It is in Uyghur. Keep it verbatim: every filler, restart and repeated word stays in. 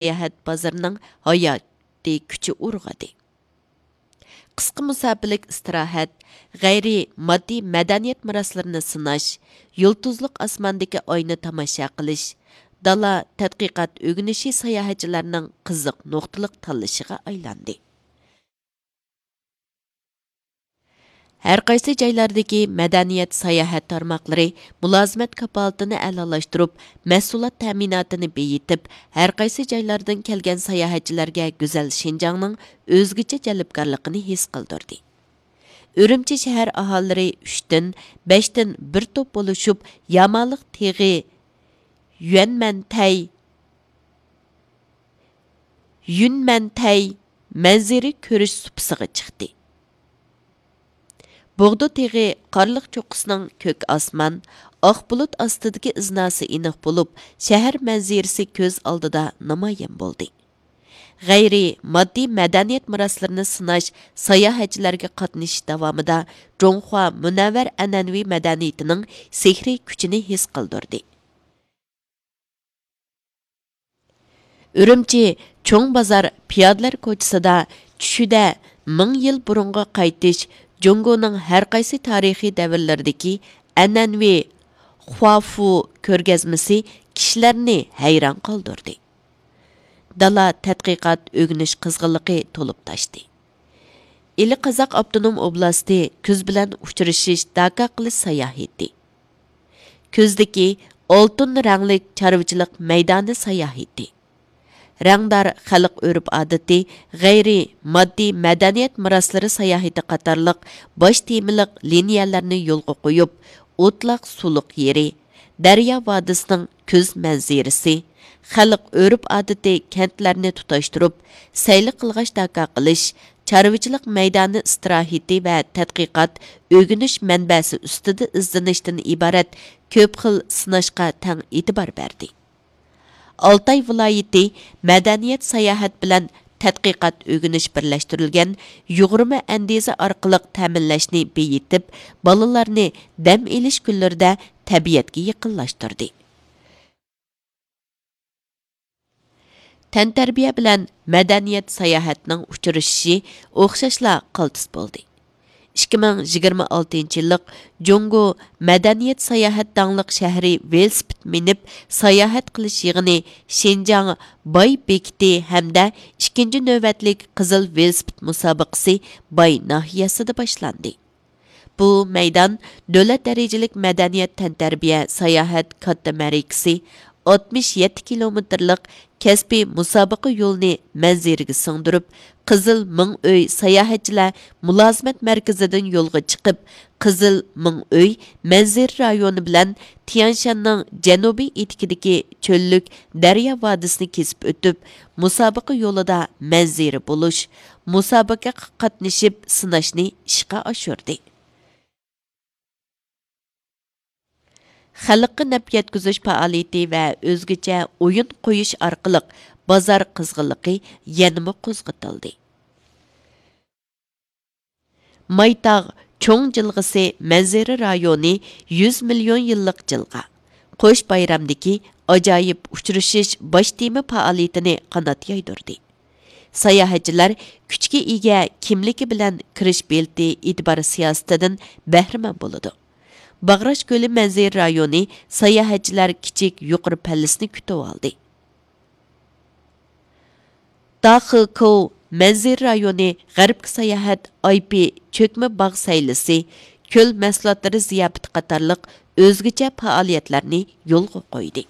ساياھەت بازىرىنىڭ ھاياتىي كۈچى ئۇرغىدى. قىسقا مۇساپىلىك ئىستىراھەت، غەيرىي ماددىي مەدەنىيەت مىراسلىرىنى سىناش، يۇلتۇزلۇق ئاسماندىكى ئاينى تاماشا قىلىش، دالا تەتقىقات ئۆگىنىشى ساياھەتچىلەرنىڭ قىزىق نۇقتىلىق تاللىشىغا ئايلاندى. ھەرقايسى جايلاردىكى مەدەنىيەت ساياھەت تارماقلىرى مۇلازىمەت كاپالىتىنى ئەلالاشتۇرۇپ، مەھسۇلات تەمىناتىنى بېيىتىپ، ھەرقايسى جايلاردىن كەلگەن ساياھەتچىلەرگە گۈزەل شىنجاڭنىڭ ئۆزگىچە جەلپكارلىقىنى ھېس قىلدۇردى. ئۈرۈمچى شەھەر ئاھالىلىرى ئۈچتىن، بەشتىن بىر توپ بولۇشۇپ، يامالىق تېغى يۈەنمەنتەي، يۈنمەنتەي مەنزىرە كۆرۈش سۇپىسىغا چىقتى. بوغدا تېغى قارلىق چوققىسىنىڭ كۆك ئاسمان، ئاق بۇلۇت ئاستىدىكى ئىزناسى ئېنىق بولۇپ، شەھەر مەنزىرىسى كۆز ئالدىدا نامايان بولدى. غەيرىي ماددىي مەدەنىيەت مىراسلىرىنى سىناش، ساياھەتچىلەرگە قاتنىشىش داۋامىدا جۇڭخۇا مۇنەۋۋەر ئەنئەنىۋى مەدەنىيىتىنىڭ سېھرىي كۈچىنى ھېس قىلدۇردى. ئۈرۈمچى چوڭ بازار پىيادىلەر كوچىسىدا چۈشىدە مىڭ يىل بۇرۇنغا قايتىش، جۇڭگونىڭ ھەرقايسى تارىخىي دەۋرلىرىدىكى ئەنئەنىۋى خۇافۇ كۆرگەزمىسى كىشىلەرنى ھەيران قالدۇردى. دالا تەتقىقات ئۆگىنىش قىزغىنلىقى تولۇپ تاشتى. ئىلى قازاق ئاپتونوم ئوبلاستى كۈز بىلەن ئۇچرىشىش، داكا قىلىش ساياھىتى. كۈزدىكى ئالتۇن رەڭلىك چارۋىچىلىق مەيدانى ساياھىتى. رەڭدار خەلق ئۆرپ-ئادىتى، غەيرىي ماددىي مەدەنىيەت مىراسلىرى ساياھىتى قاتارلىق باش تېمىلىق لىنىيەلەرنى يولغا قويۇپ، ئوتلاق سۇلۇق يېرى، دەريا ۋادىسىنىڭ كۈز مەنزىرىسى، خەلق ئۆرپ-ئادىتى كەنتلەرنى تۇتاشتۇرۇپ، سەيلە قىلغاچ داكا قىلىش، چارۋىچىلىق مەيدانى ئىستىراھىتى ۋە تەتقىقات، ئۆگىنىش مەنبەسى ئۈستىدە ئىزدىنىشتىن ئىبارەت كۆپ خىل سىناشقا تەڭ ئېتىبار بەردى. ئالتاي ۋىلايىتى مەدەنىيەت ساياھەت بىلەن تەتقىقات ئۆگىنىش بىرلەشتۈرۈلگەن يۇغۇرما ئەندىزە ئارقىلىق تەمىنلەشنى بېيىتىپ، بالىلارنى دەم ئېلىش كۈنلىرىدە تەبىئەتكە يېقىنلاشتۇردى. تەنتەربىيە بىلەن مەدەنىيەت ساياھەتنىڭ ئۇچرىشىشى ئوخشاشلا قالتىس بولدى. ئىككى مىڭ يىگىرمە ئالتىنچى يىللىق جۇڭگو مەدەنىيەت ساياھەت داڭلىق شەھىرى ۋېلىسىپىت مىنىپ ساياھەت قىلىش يىغىنى شىنجاڭ باي بېكىتى ھەمدە ئىككىنچى نۆۋەتلىك قىزىل ۋېلىسىپىت مۇسابىقىسى باي ناھىيەسىدە باشلاندى. بۇ مەيدان دۆلەت دەرىجىلىك مەدەنىيەت تەنتەربىيە ساياھەت كاتتا مەرىكىسى، ئاتمىش يەتتە كىلومېتىرلىق كەسپىي مۇسابىقە يولىنى مەنزىرىگە سىڭدۈرۈپ، قىزىل مىڭ ئۆي ساياھەتچىلەر مۇلازىمەت مەركىزىدىن يولغا چىقىپ، قىزىل مىڭ ئۆي مەنزىرە رايونى بىلەن تيەنشاننىڭ جەنۇبىي ئېتىكىدىكى چۆللۈك دەريا ۋادىسىنى كېسىپ ئۆتۈپ، مۇسابىقە يولىدا مەنزىرە بولۇش، مۇسابىقىگە قاتنىشىپ سىناشنى ئىشقا ئاشۇردى. خەلققە نەپ يەتكۈزۈش پائالىيىتى ۋە ئۆزگىچە ئويۇن قويۇش ئارقىلىق بازار قىزغىنلىقى يەنىمۇ قوزغىتىلدى. مايتاغ چوڭ جىلغىسى مەنزىرە رايونى يۈز مىليون يىللىق جىلغا، قوش بايرامدىكى ئاجايىپ ئۇچرىشىش باش تېما پائالىيىتىنى قانات يايدۇردى. ساياھەتچىلەر كۈچكە ئىگە كىملىكى بىلەن كىرىش بېلىتى ئېتىبار سىياسىتىدىن بەھرىمەن بولىدۇ. باغراش كۆلى مەنزىرە رايونى ساياھەتچىلەر كىچىك يۇقىرى پەللىسىنى كۈتۈۋالدى. داخېكوۋ مەنزىرە رايونى غەربكە ساياھەت، ئايپى چۆكمە باغ سەيلىسى، كۆل مەھسۇلاتلىرى زىياپىتى قاتارلىق ئۆزگىچە پائالىيەتلەرنى يولغا قويدى.